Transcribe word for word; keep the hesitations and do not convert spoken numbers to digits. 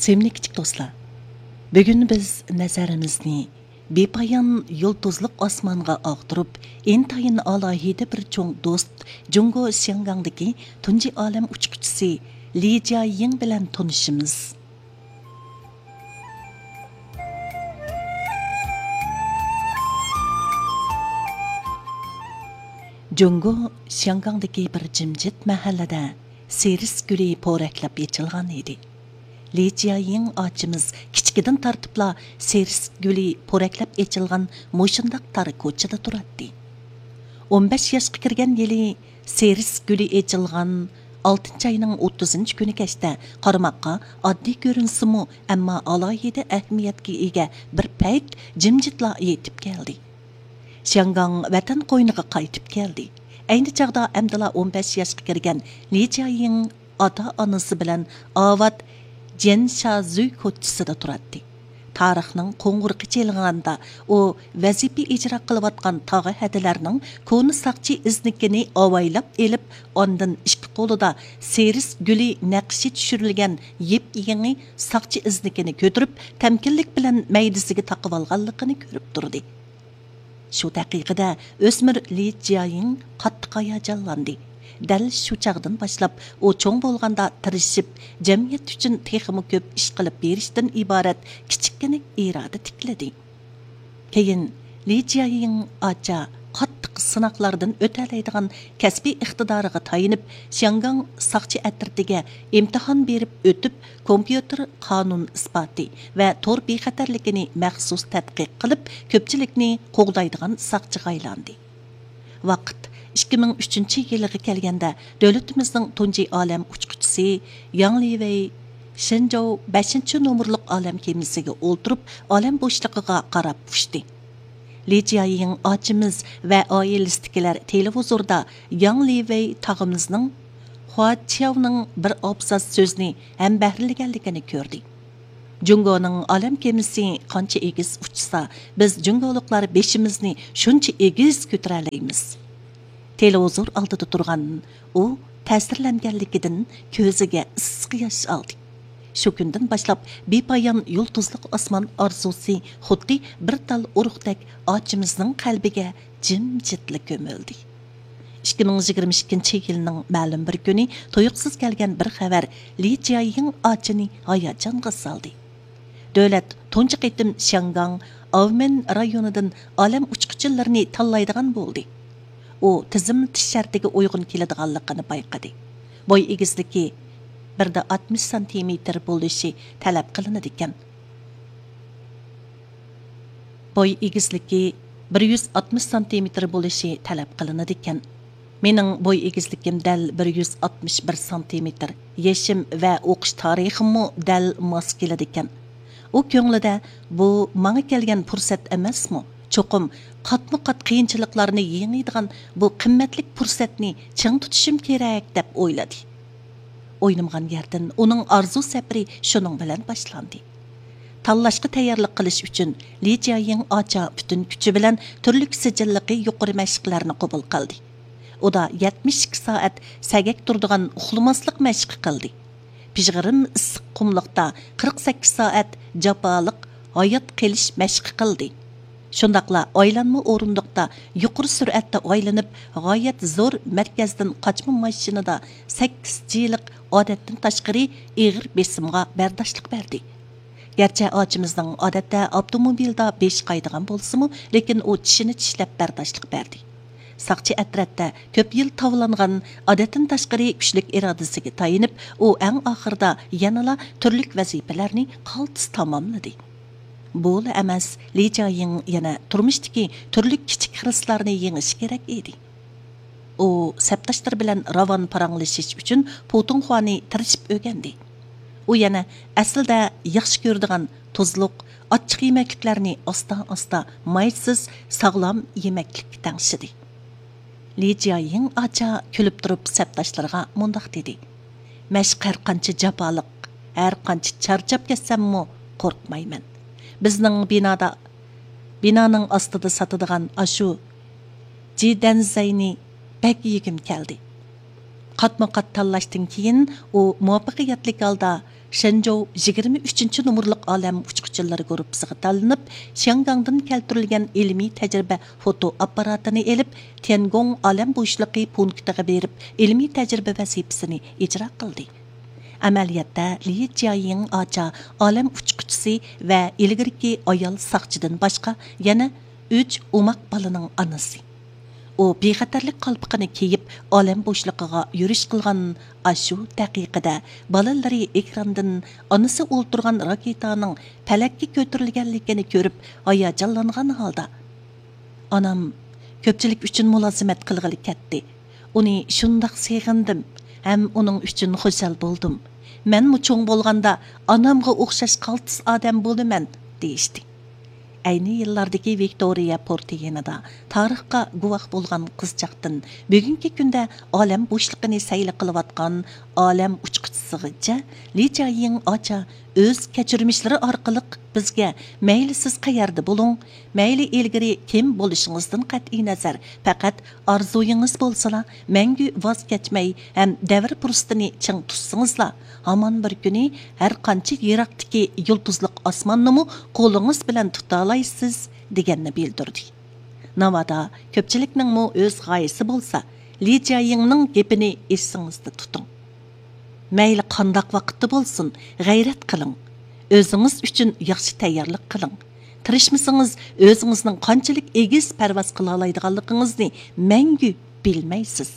سۆيۈملۈك كىچىك دوستلار، بۈگۈن بىز نەزىرىمىزنى بىپايان يۇلتۇزلۇق ئاسمانغا ئاغدۇرۇپ، ئىنتايىن ئالاھىدە بىر چوڭ دوست جۇڭگو شياڭگاڭدىكى تۇنجى ئالەم ئۇچقۇچىسى لى جيايىڭ بىلەن تونۇشىمىز. جۇڭگو شياڭگاڭدىكى بىر جىمجىت مەھەللىدە سېرىس گۈلى پورەكلەپ ئېچىلغان ئىدى. لى جيايىڭ ئاچىمىز كىچىكىدىن تارتىپلا سېرىس گۈلى پورەكلەپ ئېچىلغان مۇشۇنداق تار كوچىدا تۇراتتى. ئون بەش ياشقا كىرگەن يىلى سېرىس گۈلى ئېچىلغان ئالتىنچى ئاينىڭ ئوتتۇزىنچى كۈنى كەچتە قارىماققا ئاددىي كۆرۈنسىمۇ، ئەمما ئالاھىدە ئەھمىيەتكە ئىگە بىر پەيت جىمجىتلا يېتىپ كەلدى. شياڭگاڭ ۋەتەن قوينىغا قايتىپ كەلدى. ئەينى چاغدا ئەمدىلا ئون بەش ياشقا كىرگەن لى جيايىڭ ئاتا-ئانىسى بىلەن ئاۋات جيەنشازۈي كوچىسىدا تۇراتتى. تارىخنىڭ قوڭغۇرىقى چېلىنغاندا، ئۇ ۋەزىپە ئىجرا قىلىۋاتقان تاغا ھەدىلەرنىڭ كونا ساقچى ئىزنىكىنى ئاۋايلاپ ئېلىپ، ئاندىن ئىككى قولىدا سېرىس گۈلى نەقىشى چۈشۈرۈلگەن يېپيېڭى ساقچى ئىزنىكىنى كۆتۈرۈپ، تەمكىنلىك بىلەن مەيدىسىگە تاقىۋالغانلىقىنى كۆرۈپ تۇردى. شۇ دەقىقىدە ئۆسمۈر لى جيايىڭ قاتتىق ھاياجانلاندى. دەل شۇ چاغدىن باشلاپ ئۇ چوڭ بولغاندا تىرىشىپ، جەمئىيەت ئۈچۈن تېخىمۇ كۆپ ئىش قىلىپ بېرىشتىن ئىبارەت كىچىككىنە ئىرادە تىكلىدى. كېيىن لى جيايىڭ ئاچا قاتتىق سىناقلاردىن ئۆتەلەيدىغان كەسپىي ئىقتىدارىغا تايىنىپ، شياڭگاڭ ساقچى ئەترىتىگە ئىمتىھان بېرىپ ئۆتۈپ، كومپيۇتېر قانۇن ئىسپاتى ۋە تور بىخەتەرلىكىنى مەخسۇس تەتقىق قىلىپ، كۆپچىلىكنى قوغدايدىغان ساقچىغا ئايلاندى. ۋاقىت ئىككى مىڭ ئۈچىنچى يىلىغا كەلگەندە، دۆلىتىمىزنىڭ تۇنجى ئالەم ئۇچقۇچىسى ياڭ لىۋېي شېنجاۋ بەشىنچى نومۇرلۇق ئالەم كېمىسىگە ئولتۇرۇپ، ئالەم بوشلۇقىغا قاراپ ئۇچتى. لى جيايىڭ ئاچىمىز ۋە ئائىلىسىدىكىلەر تېلېۋىزوردا ياڭ لىۋېي تاغىمىزنىڭ خۇا چياۋنىڭ بىر ئابزاس سۆزنى ھەمبەھىرلىگەنلىكىنى كۆردى. جۇڭگونىڭ ئالەم كېمىسى قانچە ئېگىز ئۇچسا، بىز جۇڭگولۇقلار بېشىمىزنى شۇنچە ئېگىز كۆتۈرەلەيمىز. تېلېۋىزور ئالدىدا تۇرغان ئۇ تەسىرلەنگەنلىكىدىن كۆزىگە ئىسسىق ياش ئالدى. شۇ كۈندىن باشلاپ بىپايان يۇلتۇزلۇق ئاسمان ئارزۇسى خۇددى بىر تال ئۇرۇقتەك ئاچىمىزنىڭ قەلبىگە جىمجىتلا كۆمۈلدى. ئىككى مىڭ يىگىرمە ئىككىنچى يىلنىڭ مەلۇم بىر كۈنى تۇيۇقسىز كەلگەن بىر خەۋەر لى جيايىڭ ئاچىنى ھاياجانغا سالدى. دۆلەت تۇنجى قېتىم شياڭگاڭ ئاۋمېن رايونىدىن ئالەم ئۇچقۇچىلىرىنى تاللايدىغان بولدى. ئۇ تىزىملىتىش شەرتىگە ئۇيغۇن كېلىدىغانلىقىنى بايقىدى. بوي ئېگىزلىكى بىر دە ئاتمىش سانتىمېتىر بولۇشى تەلەپ قىلىنىدىكەن. بوي ئېگىزلىكى بىر يۈز ئاتمىش سانتىمېتىر بولۇشى تەلەپ قىلىنىدىكەن. مېنىڭ بوي ئېگىزلىكىم دەل بىر يۈز ئاتمىش بىر سانتىمېتىر، يېشىم ۋە ئوقۇش تارىخىممۇ دەل ماس كېلىدىكەن. ئۇ كۆڭلىدە، بۇ ماڭا كەلگەن پۇرسەت ئەمەسمۇ؟ چوقۇم قاتمۇ قات قىيىنچىلىقلارنى يېڭىدىغان بۇ قىممەتلىك پۇرسەتنى چىڭ تۇتۇشۇم كېرەك، دەپ ئويلىدى. ئويلىمىغان يەردىن ئۇنىڭ ئارزۇ سەپىرى شۇنىڭ بىلەن باشلاندى. تاللاشقا تەييارلىق قىلىش ئۈچۈن لى جيايىڭ ئاچا پۈتۈن كۈچى بىلەن تۈرلۈك سىجىللىقى يۇقىرى مەشىقلەرنى قوبۇل قىلدى. ئۇدا يەتمىش ئىككى سائەت سەگەك تۇرىدىغان ئۇخلىماسلىق مەشقى قىلدى. پىژغىرىم ئىسسىق قۇملۇقتا قىرىق سەككىز سائەت جاپالىق ھايات قېلىش مەشقى قىلدى. شۇنداقلا ئايلانما ئورۇندۇقتا يۇقىرى سۈرئەتتە ئايلىنىپ، غايەت زور مەركەزدىن قاچما ماشىنىدا سەككىز جىلىق ئادەتتىن تاشقىرى ئېغىر بېسىمغا بەرداشلىق بەردى. گەرچە ئاچىمىزنىڭ ئادەتتە ئاپتوموبىلدا بېشى قايىدىغان بولسىمۇ، لېكىن ئۇ چىشىنى چىشلەپ بەرداشلىق بەردى. ساقچى ئەترەتتە كۆپ يىل تاۋلانغان، ئادەتتىن تاشقىرى كۈچلۈك ئىرادىسىگە تايىنىپ، ئۇ ئەڭ ئاخىرىدا يەنىلا تۈرلۈك ۋەزىپىلەرنى قالتىس تاماملىدى. بۇلا ئەمەس، لى جيايىڭ يەنە تۇرمۇشتىكى تۈرلۈك كىچىك خىرىسلارنى يېڭىشى كېرەك ئىدى. ئۇ سەپداشلىرى بىلەن راۋان پاراڭلىشىش ئۈچۈن پۇتۇڭخۇانى تىرىشىپ ئۆگەندى. ئۇ يەنە ئەسلىدە ياخشى كۆرىدىغان تۇزلۇق، ئاچچىق يېمەكلىكلەرنى ئاستا-ئاستا مايسىز، ساغلام يېمەكلىككە تەڭشىدى. لى جيايىڭ ئاچا كۈلۈپ تۇرۇپ سەپداشلىرىغا مۇنداق دېدى: «مەشىق ھەر قانچە جاپالىق، ھەر قانچە چارچاپ كەتسەممۇ قورقمايمەن. بىزنىڭ بىنادا، بىنانىڭ ئاستىدا ساتىدىغان ئاشۇ جىدەنزەينى بەك يېگۈم كەلدى.» قاتمۇ قات تاللاشتىن كېيىن ئۇ مۇۋەپپەقىيەتلىك ھالدا شېنجوۋ يىگىرمە ئۈچىنچى نومۇرلۇق ئالەم ئۇچقۇچىلىرى گۇرۇپپىسىغا تاللىنىپ، شياڭگاڭدىن كەلتۈرۈلگەن ئىلمىي تەجرىبە فوتو ئاپپاراتىنى ئېلىپ، تيەنگوڭ ئالەم بوشلۇقى پونكىتىغا بېرىپ، ئىلمىي تەجرىبە ۋەزىپىسىنى ئىجرا قىلدى. ئەمەلىيەتتە، لى جيايىڭ ئاچا ئالەم ئۇچقۇچىسى ۋە ئىلگىرىكى ئايال ساقچىدىن باشقا يەنە ئۈچ ئوماق بالىنىڭ ئانىسى. ئۇ بىخەتەرلىك قالپىقىنى كىيىپ، ئالەم بوشلۇقىغا يۈرۈش قىلغان ئاشۇ دەقىقىدە بالىلىرى ئېكراندىن ئانىسى ئولتۇرغان راكېتانىڭ پەلەككە كۆتۈرۈلگەنلىكىنى كۆرۈپ، ھاياجانلانغان ھالدا، «ئانام كۆپچىلىك ئۈچۈن مۇلازىمەت قىلغىلى كەتتى. ئۇنى شۇنداق سېغىندىم ھەم ئۇنىڭ ئۈچۈن خۇشال بولدۇم. مەنمۇ چوڭ بولغاندا ئانامغا ئوخشاش قالتىس ئادەم بولىمەن» دېيىشتى. ئەينى يىللاردىكى ۋىكتورىيە پورتى يېنىدا تارىخقا گۇۋاھ بولغان قىزچاقتىن بۈگۈنكى كۈندە ئالەم بوشلۇقىنى سەيلە قىلىۋاتقان ئالەم ئۇچقۇچىسىغىچە، لى جيايىڭ ئاچا ئۆز كەچۈرمىشلىرى ئارقىلىق بىزگە، مەيلى سىز قەيەردە بولۇڭ، مەيلى ئىلگىرى كىم بولۇشىڭىزدىن قەتئىينەزەر، پەقەت ئارزۇيىڭىز بولسىلا، مەڭگۈ ۋاز كەچمەي ھەم دەۋر پۇرسىتىنى چىڭ تۇتسىڭىزلا، ھامان بىر كۈنى ھەر قانچە يىراقتىكى يۇلتۇزلۇق ئاسماننىمۇ قولىڭىز بىلەن تۇتالايسىز، دېگەننى بىلدۈردى. ناۋادا كۆپچىلىكنىڭمۇ ئۆز غايىسى بولسا، لى جيايىڭنىڭ گېپىنى ئېسىڭىزدە تۇتۇڭ. مەيلى قانداق ۋاقىتتا بولسۇن، غەيرەت قىلىڭ. ئۆزىڭىز ئۈچۈن ياخشى تەييارلىق قىلىڭ. تىرىشمىسىڭىز، ئۆزىڭىزنىڭ قانچىلىك ئېگىز پەرۋاز قىلالايدىغانلىقىڭىزنى مەڭگۈ بىلمەيسىز.